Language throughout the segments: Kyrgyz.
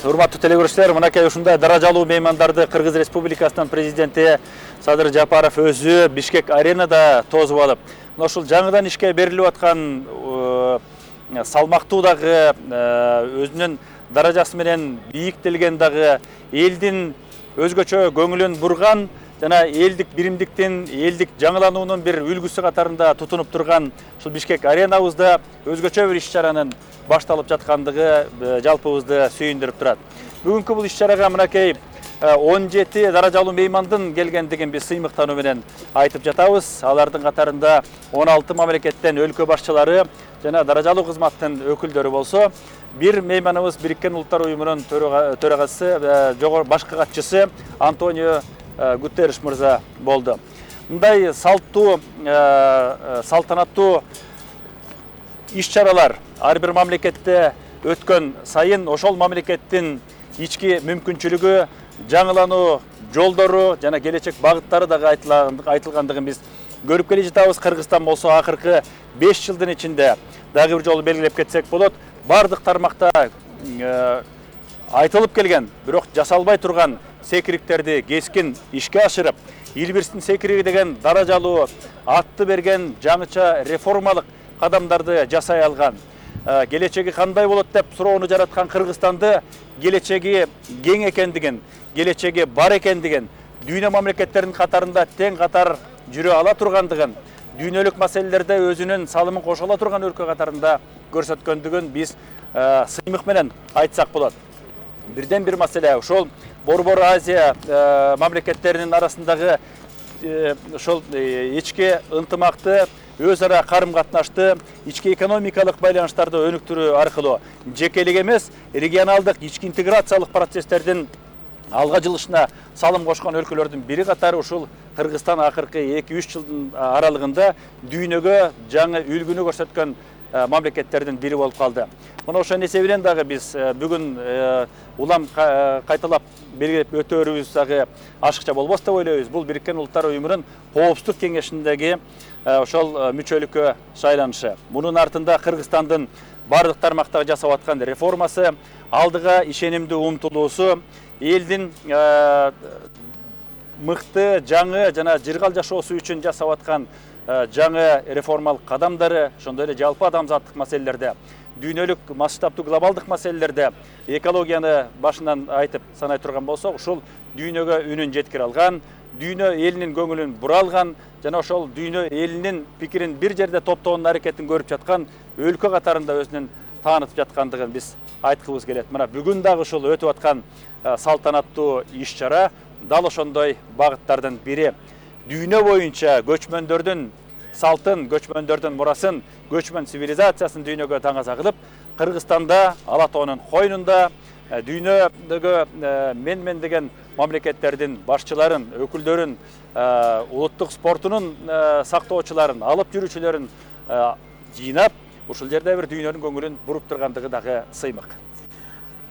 Урматтуу телекөрүүчүлөр, мынакей ушундай даражалуу меймандарды Кыргыз Республикасынын президенти Садыр Жапаров өзү Бишкек аренада тосуп алып, мына ушул жаңыдан ишке берилип аткан салмактуу дагы өзүнүн даражасы менен бийиктелген дагы элдин өзгөчө көңүлүн бурган жана элдик биримдиктин, элдик жаңылануунун бир үлгүсү катарында тутунуп турган ушул Бишкек аренабызда өзгөчө бир иш-чаранын башталып жаткандыгы жалпыбызды сүйүндүрүп турат. Бүгүнкү бул иш-чарага мынакей 17 даражалуу меймандын келгендигин биз сыймыктануу менен айтып жатабыз. Алардын катарында 16 мамлекеттен өлкө башчылары жана даражалуу кызматтын өкүлдөрү болсо, бир мейманыбыз Бириккен Улуттар Уюмунун төрагасы, башкы катчысы Антонио Гутерриш мырза болду. Мындай салтанаттуу иш-чаралар ар бир мамлекетте өткөн сайын ошол мамлекеттин ички мүмкүнчүлүгү, жаңылануу жолдору жана келечек багыттары дагы айтылгандыгын биз көрүп келе жатабыз. Кыргызстан болсо акыркы 5 жылдын ичинде дагы бир жолу белгилеп кетсек болот, бардык тармакта айтылып келген, бирок жасалбай турган секириктерди кескин ишке ашырып, Илбирстин секириги деген даражалуу атты берген жаңыча реформалык кадамдарды жасай алган. Келечеги кандай болот деп суроону жараткан Кыргызстанды келечеги кең экендигин, келечеги бар экендигин, дүйнө мамлекеттеринин катарында тең катар жүрө ала тургандыгын, дүйнөлүк маселелерде өзүнүн салымын кошо ала турган өлкө катарында көрсөткөндүгүн биз сыймык менен айтсак болот. Бирден бир маселе ошол Борбор Азия мамлекеттеринин арасындагы ошол ички ынтымакты, өз ара карым-катнашты, ички экономикалык байланыштарды өнүктүрүү аркылуу жекелик эмес, регионалдык ички интеграциялык процесстердин алга жылышына салым кошкон өлкөлөрдүн бири катары ушул Кыргызстан акыркы 2-3 жылдын аралыгында дүйнөгө жаңы үлгүнү көрсөткөн мамлекеттердин бири болуп калды. Мына ошонун эсебинен дагы биз бүгүн улам кайталап белгилеп өтөөрүбүз дагы ашыкча болбос деп ойлойбуз. Бул Бириккен Улуттар Уюмунун Коопсуздук кеңешиндеги ошол мүчөлүккө шайланышы. Мунун артында Кыргызстандын бардык тармактагы жасап аткан реформасы, алдыга ишенимдүү умтулуусу, элдин мыкты, жаңы жана жыргал жашоосу үчүн жасап аткан жаңы реформалык кадамдары, ошондой эле жалпы адамзаттык маселелерде, дүйнөлүк масштабдуу глобалдык маселелерде экологияны башынан айтып санай турган болсок, ушул дүйнөгө үнүн жеткире алган, дүйнө элинин көңүлүн бура алган жана ошол дүйнө элинин пикирин бир жерде топтоонун аракетин көрүп жаткан өлкө катарында өзүнүн таанытып жаткандыгын биз айткыбыз келет. Мына бүгүн дагы ушул өтүп аткан салтанаттуу иш-чара дал ошондой багыттардын бири. Дүйнө боюнча көчмөндөрдүн салтын, көчмөндөрдүн мурасын, көчмөн цивилизациясын дүйнөгө таңаза кылып, Кыргызстанда, Ала тоонун койнунда, дүйнөдөгү мен деген мамлекеттердин башчыларын, өкүлдөрүн, улуттук спортунун сактоочуларын, алып жүрүүчүлөрүн жыйнап, ушул жерде бир дүйнөнүн көңүлүн буруп тургандыгы дагы сыймык.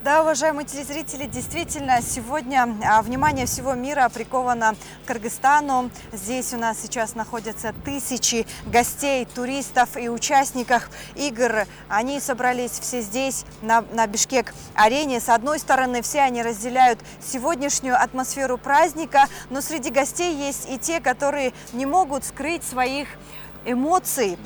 Да, уважаемые телезрители, действительно, сегодня внимание всего мира приковано к Кыргызстану. Здесь у нас сейчас находятся тысячи гостей, туристов и участников игр. Они собрались все здесь, на Бишкек-арене. С одной стороны, все они разделяют сегодняшнюю атмосферу праздника, но среди гостей есть и те, которые не могут скрыть своих эмоций.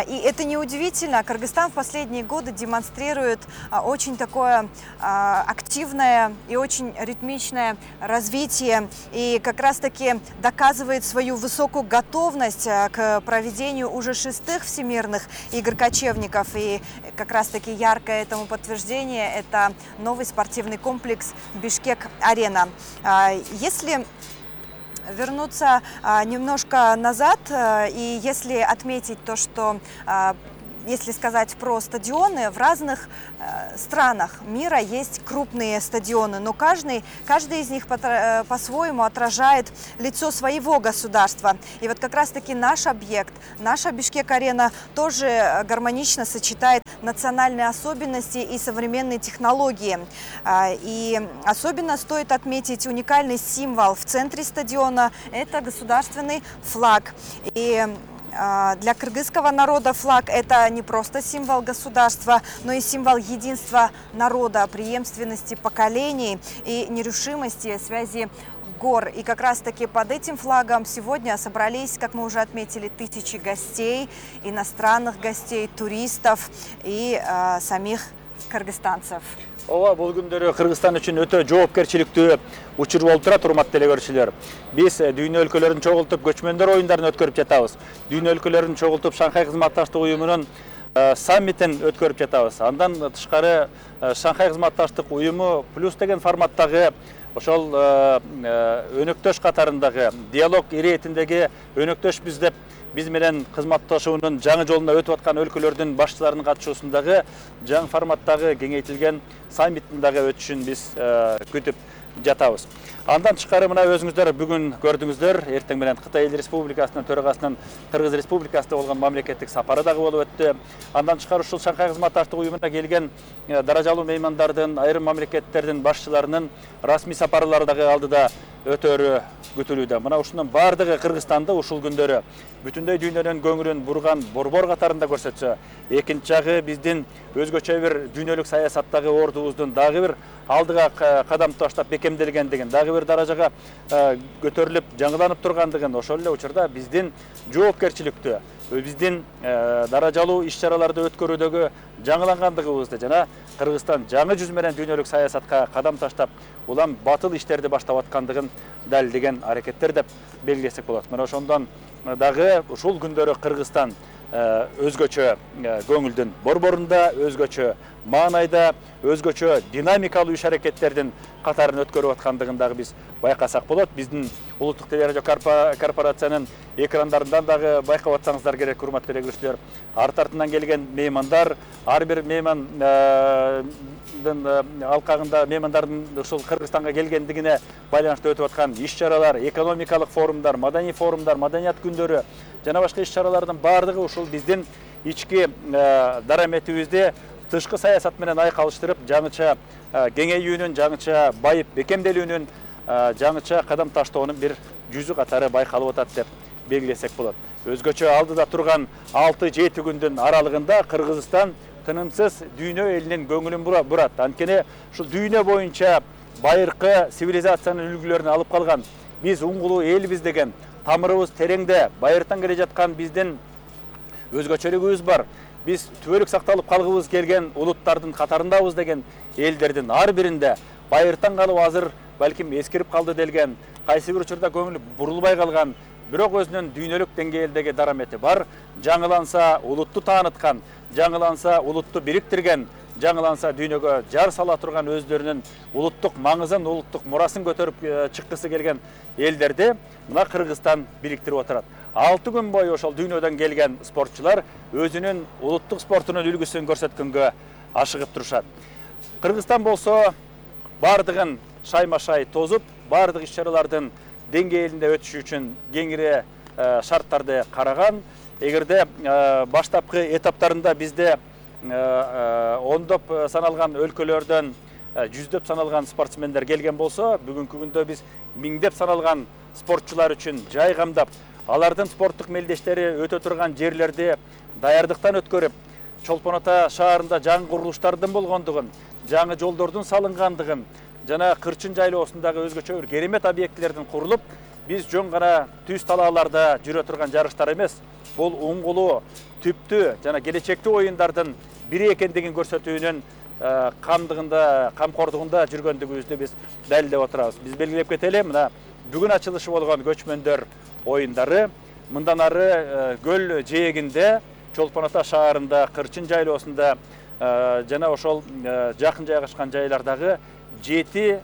И это неудивительно. Кыргызстан в последние годы демонстрирует очень такое активное и очень ритмичное развитие и как раз-таки доказывает свою высокую готовность к проведению уже 6-х всемирных игр кочевников. И как раз-таки яркое этому подтверждение – это новый спортивный комплекс Бишкек-арена. Если вернуться немножко назад, и если отметить то, что если сказать про стадионы, в разных странах мира есть крупные стадионы, но каждый из них по-своему отражает лицо своего государства. И вот как раз-таки наш объект, наша Бишкек-арена тоже гармонично сочетает национальные особенности и современные технологии. И особенно стоит отметить уникальный символ в центре стадиона – это государственный флаг. И для кыргызского народа флаг – это не просто символ государства, но и символ единства народа, преемственности поколений и нерушимости связи гор. И как раз-таки под этим флагом сегодня собрались, как мы уже отметили, тысячи гостей, иностранных гостей, туристов и самих кыргызстанцев. Ооба, бул күндөрү Кыргызстан үчүн өтө жоопкерчиликтүү учур болуп турат, урматтуу эле көрүүчүлөр. Биз дүйнө өлкөлөрүн чогултуп көчмөндөр оюндарын өткөрүп жатабыз. Дүйнө өлкөлөрүн чогултуп Шанхай кызматташтык уюмунун саммитин өткөрүп жатабыз. Андан тышкары Шанхай кызматташтык уюму плюс деген форматтагы ошол өнөктөш катарындагы диалог иретиндеги өнөктөш биз деп биз менен кызматташуунун жаңы жолуна өтүп аткан өлкөлөрдүн башчыларынын катышуусундагы жаңы форматтагы кеңейтилген саммиттин дагы өтүшүн биз күтүп жатабыз. Андан тышкары мына өзүңүздөр бүгүн көрдүңүздөр, эртең менен Кытай Эл Республикасынын төрагасынын Кыргыз Республикасында болгон мамлекеттик сапары дагы болуп өттү. Андан тышкары ушул Шанхай кызматташтык уюмуна келген даражалуу меймандардын, айрым мамлекеттердин башчыларынын расмий сапарлары дагы алдыда өтөрү күтүлүүдө. Мына ушунун бардыгы Кыргызстанды ушул күндөрү бүтүндөй дүйнөнүн көңүлүн бурган борбор катарында көрсөтсө, экинчи жагы биздин өзгөчө бир дүйнөлүк саясаттагы ордубуздун дагы бир алдыга кадам таштап бекемделгендигин, дагы бир даражага көтөрүлүп, жаңыланып тургандыгын, ошол эле учурда биздин жоопкерчиликтүү, биздин даражалуу иш-чараларды өткөрүүдөгү жаңылангандыгыбызды жана Кыргызстан жаңы жүз менен дүйнөлүк саясатка кадам таштап, улам батыл иштерди баштап аткандыгын далилдеген аракеттер деп белгилесек болот. Мына ошондон дагы ушул күндөрү Кыргызстан өзгөчө көңүлдүн борборунда, өзгөчө маанайда, өзгөчө динамикалуу иш аракеттердин катарын өткөрүп аткандыгын дагы биз байкасак болот. Биздин улуттук телерадио корпорациянын экрандарынан дагы байкап атсаңыздар керек, урматтуу эле көрүүчүлөр. Арт артынан келген меймандар, ар бир меймандын алкагында меймандардын ушул Кыргызстанга келгендигине байланыштуу өтүп аткан иш-чаралар, экономикалык форумдар, маданий форумдар, маданият күндөрү жана башка иш-чаралардын бардыгы ушул биздин ички дараметибизди тышкы саясат менен айкалыштырып, жаңыча кеңейүүнүн, жаңыча байып бекемделүүнүн, жаңыча кадам таштоонун бир жүзү катары байкалып атат деп белгилесек болот. Өзгөчө алдыда турган 6-7 күндүн аралыгында Кыргызстан тынымсыз дүйнө элинин көңүлүн бурат. Анткени ушул дүйнө боюнча байыркы цивилизациянын үлгүлөрүн алып калган, биз уңгулуу элбиз деген тамырыбыз тереңде байыртан келе жаткан биздин өзгөчөлүгүбүз бар. Биз түбөлүк сакталып калгыбыз келген улуттардын катарындабыз деген элдердин ар биринде байыртан калып азыр балким эскирип калды делген, кайсы бир учурда көңүл бурулбай калган, бирок өзүнүн дүйнөлүк деңгээлдеги дарамети бар, жаңыланса улутту тааныткан, жаңыланса улутту бириктирген, жаңыланса дүйнөгө жар сала турган өздөрүнүн улуттук маңызын, улуттук мурасын көтөрүп чыккысы келген элдерди мына Кыргызстан бириктирип отурат. 6 күн бою ошол дүйнөдөн келген спортчулар өзүнүн улуттук спортунун үлгүсүн көрсөткөнгө ашыгып турушат. Кыргызстан болсо бардыгын шайма-шай тозуп, бардык иш-чаралардын деңгээлинде өтүшү үчүн кеңири шарттарды караган. Эгерде баштапкы этаптарында бизде ондоп саналган өлкөлөрдөн жүздөп саналган спортсмендер келген болсо, бүгүнкү күндө биз миңдеп саналган спортчулар үчүн жай камдап, алардын спорттук мелдештери өтө турган жерлерди даярдыктан өткөрүп, Чолпон Ата шаарында жаңы курулуштардын болгондугун, жаңы жолдордун салынгандыгын жана Кырчын жайлоосундагы өзгөчө бир керемет объектилердин курулуп, биз жөн гана түз талааларда жүрө турган жарыштар эмес, бул уңгулуу, түптүү жана келечектүү оюндардын бири экендигин көрсөтүүнүн камкордугунда жүргөндүгүбүздү биз далилдеп отурабыз. Биз белгилеп кетели, мына бүгүн ачылышы болгон көчмөндөр оюндары мындан ары көл жээгинде, Чолпон Ата шаарында, Кырчын жайлоосунда жана ошол жакын жайгашкан жайлардагы 7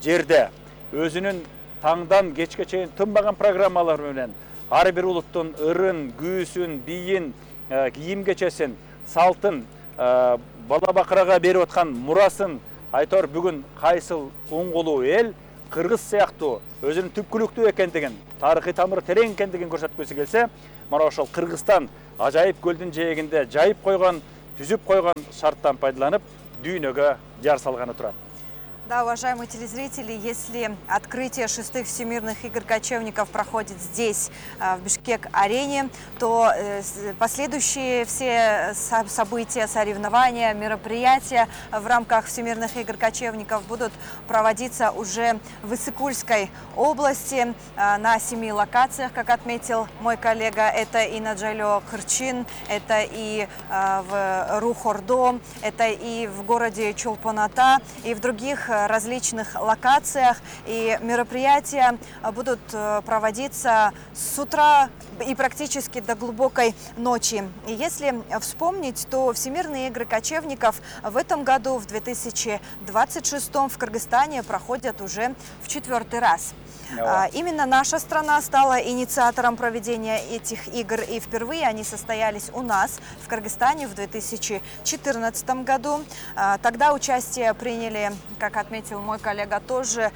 жерде өзүнүн таңдан кечке чейин тынбаган программалар менен ар бир улуттун ырын, күүсүн, бийин, кийим кечесин, салтын, бала бакырага берип аткан мурасын айтор бүгүн кайсыл уңгулуу эл Кыргыз сыяктуу өзүнүн түпкүлүктүү экендигин, тарыхый тамыры терең экендигин көрсөткүсү келсе, мына ошол Кыргызстан ажайып көлдүн жээгинде жайып койгон, түзүп койгон шарттан пайдаланып, дүйнөгө жар салганы турат. Да, уважаемые телезрители, если открытие 6-х Всемирных игр кочевников проходит здесь, в Бишкек-арене, то последующие все события, соревнования, мероприятия в рамках Всемирных игр кочевников будут проводиться уже в Иссык-Кульской области на 7 локациях, как отметил мой коллега. Это и на Джайлоо-Кырчин, это и в Рухордо, это и в городе Чолпон-Ата, и в других различных локациях, и мероприятия будут проводиться с утра и практически до глубокой ночи. И если вспомнить, то Всемирные игры кочевников в этом году, в 2026 в Кыргызстане проходят уже в 4-й раз. Именно наша страна стала инициатором проведения этих игр, и впервые они состоялись у нас, в Кыргызстане, в 2014 году. Тогда участие приняли, как отметил мой коллега, тоже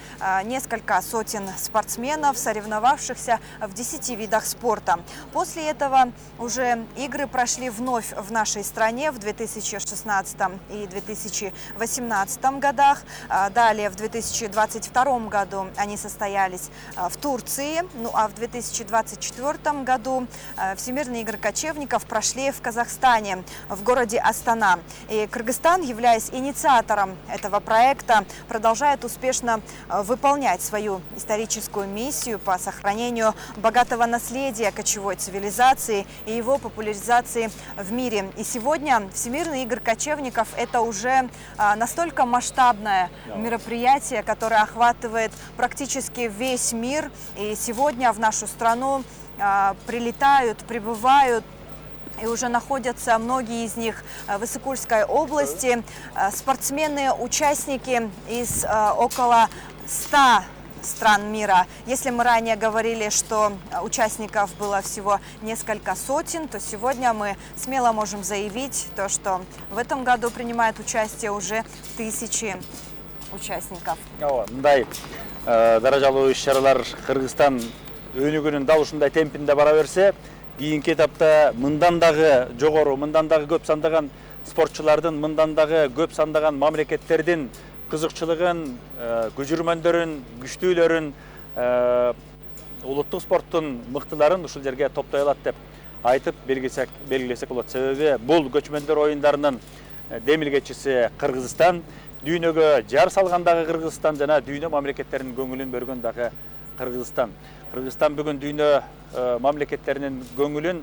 несколько сотен спортсменов, соревновавшихся в 10 видах спорта. После этого уже игры прошли вновь в нашей стране в 2016 и 2018 годах. Далее, в 2022 году они состоялись в Турции, ну а в 2024 году Всемирные игры кочевников прошли в Казахстане, в городе Астана. И Кыргызстан, являясь инициатором этого проекта, продолжает успешно выполнять свою историческую миссию по сохранению богатого наследия кочевой цивилизации и его популяризации в мире. И сегодня Всемирные игры кочевников – это уже настолько масштабное мероприятие, которое охватывает практически весь мир. И сегодня в нашу страну прилетают, прибывают и уже находятся многие из них в Иссык-Кульской области спортсмены, участники из около 100 стран мира. Если мы ранее говорили, что участников было всего несколько сотен, то сегодня мы смело можем заявить, то, что в этом году принимают участие уже тысячи участников. Мындай даражалуу иш-чаралар Кыргызстан өнүгүүнүн дал ушундай темпинде бара берсе, кийинки этапта мындан дагы жогору, мындан дагы көп сандаган спортчулардын, мындан дагы көп сандаган мамлекеттердин кызыкчылыгын, көжүрмөндөрүн, күчтүүлөрүн, улуттук спорттун мыктыларын ушул жерге топтой алат деп айтып белгилесек болот. Себеби бул көчмөндөр оюндарынын демилгечиси Кыргызстан, дүйнөгө жар салган дагы Кыргызстан жана дүйнө мамлекеттеринин көңүлүн бөлгөн дагы Кыргызстан. Кыргызстан бүгүн дүйнө мамлекеттеринин көңүлүн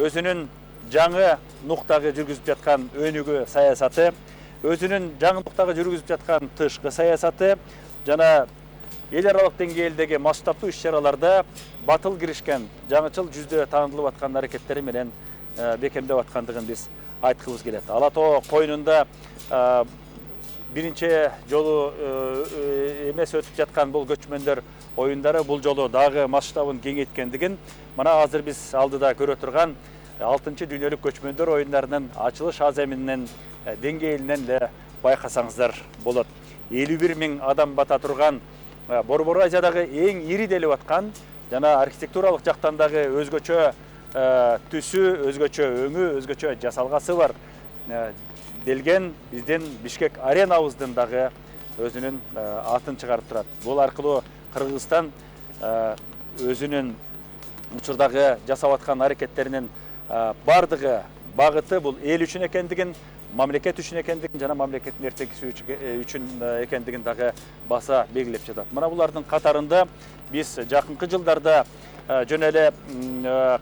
өзүнүн жаңы нуктагы жүргүзүп жаткан өнүгүү саясаты, өзүнүн жаңы нуктагы жүргүзүп жаткан тышкы саясаты жана эл аралык деңгээлдеги масштабдуу иш-чараларда батыл киришкен, жаңычыл жүздө таандылып аткан аракеттери менен бекемдеп аткандыгын биз айткыбыз келет. Ала Тоо коюнунда биринчи жолу эмес өтүп жаткан бул көчмөндөр оюндары бул жолу дагы масштабын кеңейткендигин мына азыр биз алдыда көрө турган 6-чы дүйнөлүк көчмөндөр оюндарынын ачылыш аземинин деңгээлинен эле байкасаңыздар болот. 51 000 адам бата турган Борбор Азиядагы эң ири делип аткан жана архитектуралык жактан дагы өзгөчө түсү, өзгөчө өңү, өзгөчө жасалгасы бар делген биздин Бишкек-аренабыздын дагы өзүнүн атын чыгарып турат. Бул аркылуу Кыргызстан өзүнүн учурдагы жасап аткан аракеттеринин бардыгы багыты бул эл үчүн экендигин, мамлекет үчүн экендигин жана мамлекеттин эртеңкиси үчүн экендигин дагы баса белгилеп жатат. Мына булардын катарында биз жакынкы жылдарда жөн эле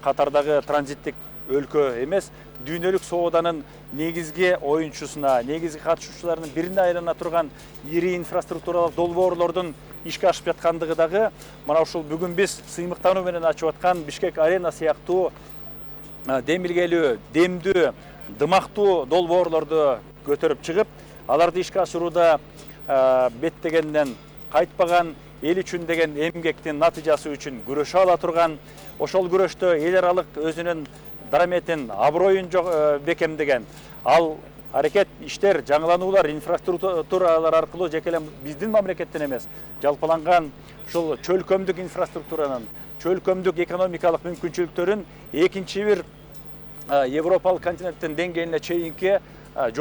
катардагы транзиттик өлкө эмес, дүйнөлүк сооданын негизги оюнчусуна, негизги катышуучуларынын бирине айлана турган ири инфраструктуралык долбоорлордун ишке ашып жаткандыгы дагы мына ушул бүгүн биз сыймыктануу менен ачып аткан Бишкек-арена сыяктуу демилгелүү, демдүү, дымактуу долбоорлорду көтөрүп чыгып, аларды ишке ашырууда беттегенден кайтпаган эл үчүн деген эмгектин натыйжасы үчүн күрөшө ала турган, ошол күрөштө эл аралык өзүнүн дараметин, аброюн бекемдеген, ал аракет иштер, жаңылануулар, инфраструктуралар аркылуу жеке эле биздин мамлекеттен эмес, жалпыланган ушул чөлкөмдүк инфраструктуранын, чөлкөмдүк экономикалык мүмкүнчүлүктөрүн экинчи бир Европалык континенттин деңгээлине чейинки жол